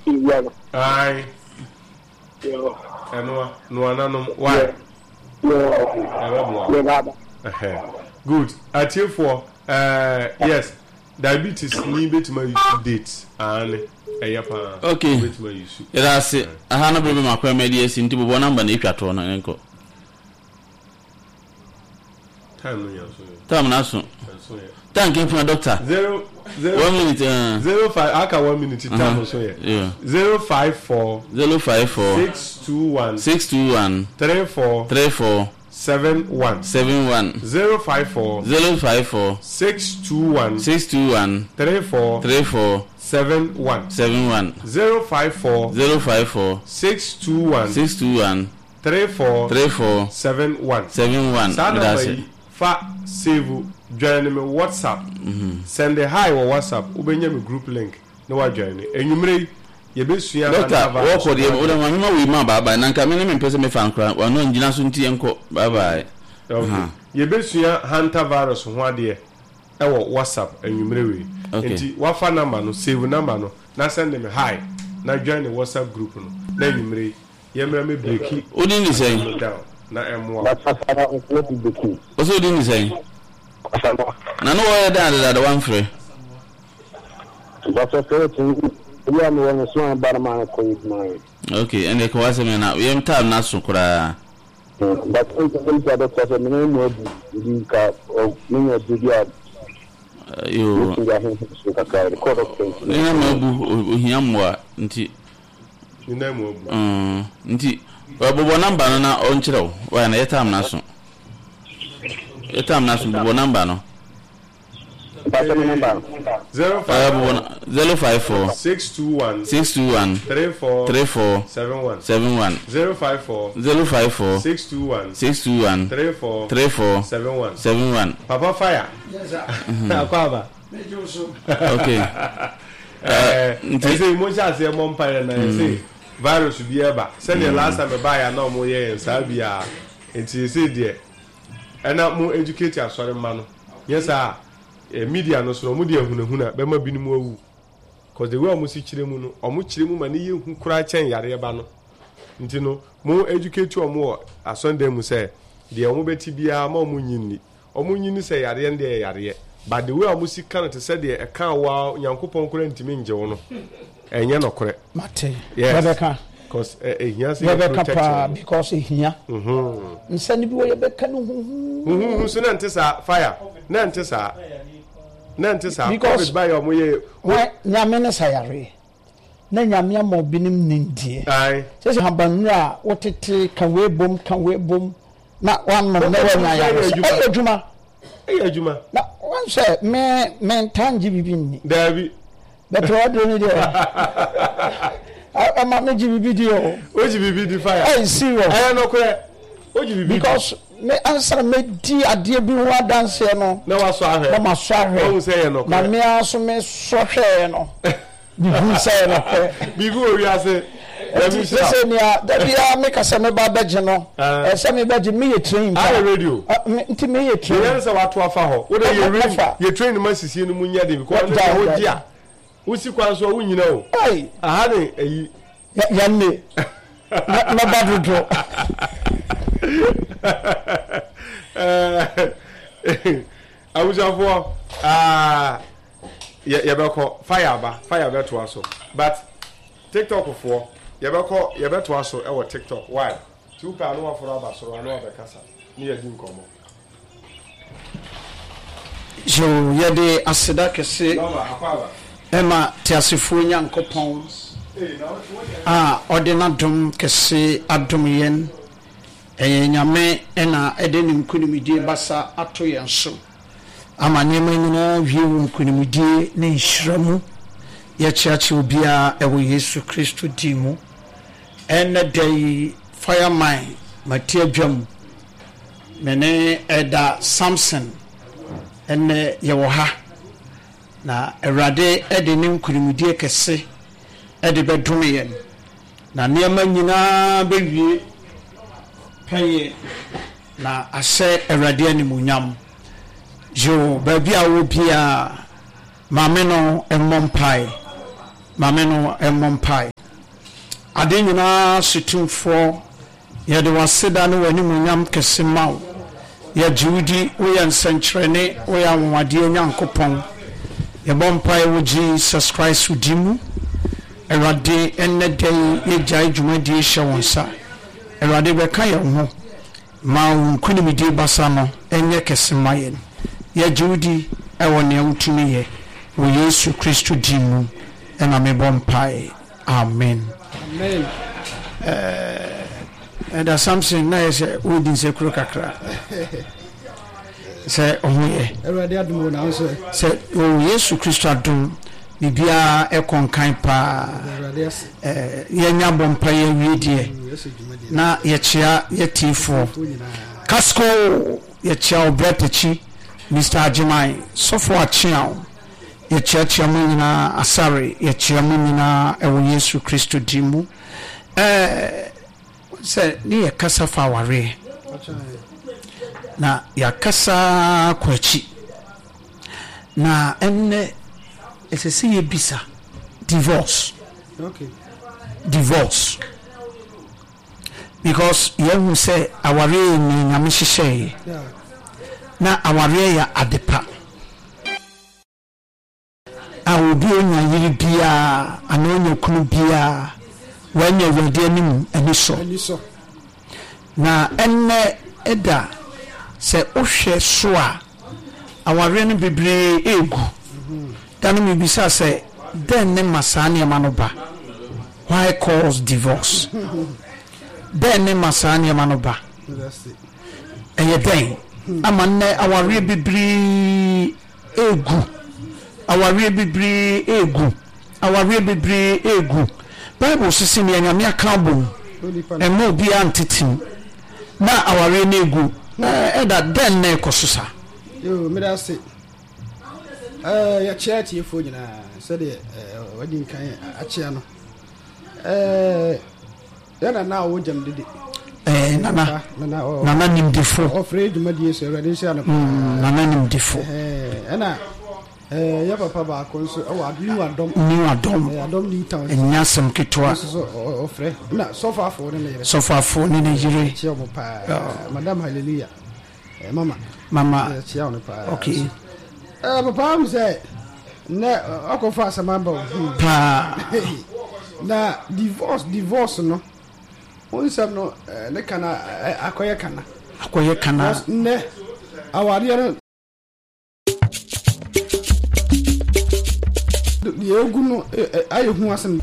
Biribiara no. Ae. Yo. Ɛnoa, noa na nom. Why? Yo. Ɛbɛboa. Me ba ba. Ɛhɛ. Good. Atiefoɔ, eh, yes. Diabetes ni bɛtumi ayusu date. Aane, ɛyɛ paa. Okay. Wobɛtumi ayusu. Yɛda ase. Aha no bere bɛma kwan ma adi asi nti bobɔ number na etwa toɔ no nkɔ. Time no yɛ nso yɛ. Time no aso. Nso yɛ. Thank you, funa doctor. 0 0 1 minute. 05 aka 1 minute time nso yɛ. Yeah. 054 054 621 621 34 34 71 71 054 054 621 621 34 34 71 71 054 054 621 621 34 34 71 71. Saa Meda number ase. yi fa save join me WhatsApp send hi wɔ WhatsApp wobɛnya me group link na wa join anwummere yi yɛbɛsua Doctor, hantavirus wɔkɔ ho deɛ adeɛ. wode ma mema wei ma bye bye na nka me ne mempɛ sɛ mefa nkora wano angyina so nti yɛnkɔ bye bye. Okay. Aha. Yɛbɛsua hantavirus ho adeɛ ɛwɔ WhatsApp anwummere wei. Okay. Nti wafa number no, save number no na send me hi na join the WhatsApp group no na anwummere yi yɛmmra mɛ breaki Wo din de asɛm sɛn? no down na ɛmmoa wo. Basafara nso di beki. Wo sɛ wo din de sɛn? Asamoah. Na ne wɔyɛ dɛn adedada wamfrɛ? Basafara tumi ebi a mewɔ no so a ba no ma no kɔ yɛ adwuma yɛ. Ok, ɛnde ka w'asɛm ɛ na yɛn time no aso koraa. But nka sɛ mfa bɛkɔ sɛ mene mu abu bi ka menya aduro bi a Yoo. mɛtumi de ahonhom so kakra de kɔ dɔkta nti. Ne nan mu abu, ohia mmoa nti. Ne nan mu abu. Mm, nti bobɔ number no na ɔnkyerɛ wo. Why na yɛ time no aso. Yɛ time no aso bobɔ number no. Mpakyɛ me number no. 054 054 621 621 34 34 71 71 054 054 621 621 34 34 71 71. Papa Fire. Yes sir. Akɔ aba. Megye wo so. Okay. Nti ɛsɛ mo nhyɛ aseɛ mmɔ mpaeɛ na ɛsɛ virus bi ɛba sɛdeɛ last time ɛbaeɛ a na wɔn yɛ yɛn saa bi a nti ɛsɛ deɛ ɛna mo educate asɔre mma no nyɛ saa a media no so no wɔn de ahunahuna bɛma binom awu cause the way wɔn si kyerɛ mu no wɔn kyerɛ mu ma ne yɛ hu koraa kyɛn yareɛ ba no nti no mo educate wɔn wɔ asɔndan mu sɛ deɛ wɔn bɛti biara ma wɔn nyi nni. Ɔmo nyi no sɛ yareɛ no deɛ ɛyɛ yareɛ but the way a ɔmo si ka no te sɛ deɛ ɛkaa wo ara Nyankopɔn koraa ntumi ngye wo no ɛnyɛ nɔkorɛ. Mate. Yes. Yɛbɛka. Cause ɛ ɛhia sɛ yɛ Yɛbɛka protect paa wɔn. because ɛhia. Nsa no bi wɔ yɛbɛka no huhuuhu. Huhuuhu so na ɛnte saa fire na ɛnte saa na ɛnte saa Because covid baeɛ a ɔmo yɛ Hwan Nyame ne sa yareɛ. Na Nyame ama obinom nimdeɛ. Ae. Sɛ sɛ habannuro a wotete ka wei bom ka wei bom na wanom na wanya ayaresa. Ɛyɛ adwuma. Ɛyɛ adwuma. Na wɔn sɛ me me ntaa ngye bibi nni. Daabi. Bɛtɛ waduro ni deɛ ɛma me gye bibi di o. O gye bibi di fire. Ɛyɛ serious. Ɛyɛ nokorɛ. O gye bibi di. Because me ansa na me di adeɛ bi ho adanseɛ no. Na wasɔ ahwɛ. Na masɔ ahwɛ. Wɔn sɛ ɛyɛ nokorɛ. Na me ara so me sɔ hwɛɛ no. Biribi sɛ yɛ nokorɛ. Biribi wɔ wiase. Nti sɛ sɛ nea da biara meka sɛ meba bɛgye no, ɛsɛ mebɛgye meyɛ train pa. Ayɛ radio. Nti meyɛ train. Yɛn sɛ wato afa hɔ. Wo de yɛ rain yɛ train ma sisie no mu nyɛ den because ɔno deɛ wogye a wosi kwan so a wonyina o. Aha ne ayi. Yɛn ne mɛba dodo. Abusuafoɔ ah. Yɛ yɛbɛkɔ fire aba fire bɛtoa so but tiktok foɔ yɛbɛkɔ yɛbɛtoa so ɛwɔ tiktok why ti wopɛ ano waforo aba soro ano abɛkasa ne yɛdi nkɔmmɔ. Yoo, yɛde aseda kɛse ma teasefoɔ Nyankopɔn a ɔde n'adom kɛse adom yɛn. Ɛyɛ Nyame na ɛde ne nkunimdie basa ato yɛn so. Ama nneɛma nyinaa awie wɔ nkonimdie ne nhyira mu. Yɛkyeakyea obiara wɔ Yesu Kristo din mu. Ɛnnɛ da yi, Fireman mate adwam. Me ne Elder Samson ɛnnɛ yɛwɔ ha. Na Awurade de ne nkonimdie kɛse de bɛdome yɛn. Na nneɛma nyinaa bɛwie pɛyɛ. Na ahyɛ Awurade animuonyam. Yoo, baabi a wowɔ biara, maame no mmɔ mpae. Ma me no mmɔ mpae. Ade nyinaa so Tumfoɔ, yɛde w'aseda ne w'animuonyam kɛse ma wo. Yɛgye wo di, woyɛ nsɛnkyerɛnne, woyɛ anwanwadeɛ Nyankopɔn. Yɛbɔ mpae wɔ Jesus Christ wo din mu. Awurade, ɛnnɛ da yi yɛgyae dwumadie hyɛ wo nsa. Awurade bɛka yɛn ho. Ma wo nkonimdie basa no nyɛ kɛse mma yɛn. Yɛgye wo di wɔ nea wotumi yɛ. Wɔ Yesu Kristo din mu na mebɔ mpae. Amen. Amen. Ɛda Samson na yɛ sɛ wodi nsekuro kakra. Sɛ ɔho yɛ. Awurade adom wɔ na nso. Sɛ wɔ Yesu Kristo adom biribiara ɛkɔ nkan paa. Yɛnya bɔ mpaeɛ awie deɛ na yɛkyea yɛtiefoɔ. Casco yɛkyea wo brɛ takyi Mister Agyeman sɔfo akyea wo yɛkyeakyea mo nyinaa Asare yɛkyea mo nyinaa ɛwɔ Yesu Kristo din mu. Ɛɛ sɛ ne yɛ kasa fa awareɛ na yɛakasa kɔ akyi. Na ɛnnɛ ɛsɛ sɛ yɛbisa divorce. Okay. Divorce. Because yɛahu sɛ awareɛ yɛ nea Nyame hyehyɛeɛ. Na awareɛ yɛ adepa. A obi a onya yere biara anaa onya kunu biara, wanya Awurade anim anisɔ. Na ɛnnɛ da, sɛ wohwɛ so a, awareɛ no bebree regu. Da no mebisa sɛ, dɛn ne ma saa nneɛma no ba? Why cause divorce? Dɛn ne ma saa nneɛma no ba? Ɛyɛ dɛn ama nnɛ awareɛ bebree regu, awareɛ bebree regu, awareɛ bebree regu. Bible se se nea Nyame aka abom, mma obiara ntete mu. Na awareɛ no regu. Ɛda dɛn na ɛkɔ so saa? Yoo, meda ase. Ɛɛ, yɛkyea atiefoɔ nyinaa sɛdeɛ ɛɛ wadi nkan akyea no. Ɛɛ. Yɛ nana a ɔwɔ gyam dede. Ɛɛ nana nana nimdefo. Ɔfrɛ dwumadie so awurade nhyira no paa. Mm, nana nimdefo. Ɛna ɛɛ yɛ papa baako nso ɛwɔ New Adom. New Adom. Ɛɛ Adom New Town. Ɛnyɛ asɛm ketewa. Nso so ɔfrɛ na sɔfo afo ne ne yere. Sɔfo afo ne ne yere. Kyia wɔn paa. Madam Hallelujah. Eh, mama. Mama. Kyia wɔn paa. Okay. Eh, papa am sɛ nɛ ɔkɔfa asɛm aba o. Hmm. Paa. Na divorce divorce no wo nsɛm no eh, ne kana eh, akɔyɛ kana. Akɔyɛ kana. Nnɛ awadeɛ no deɛ egu no ayɛ hu asɛm.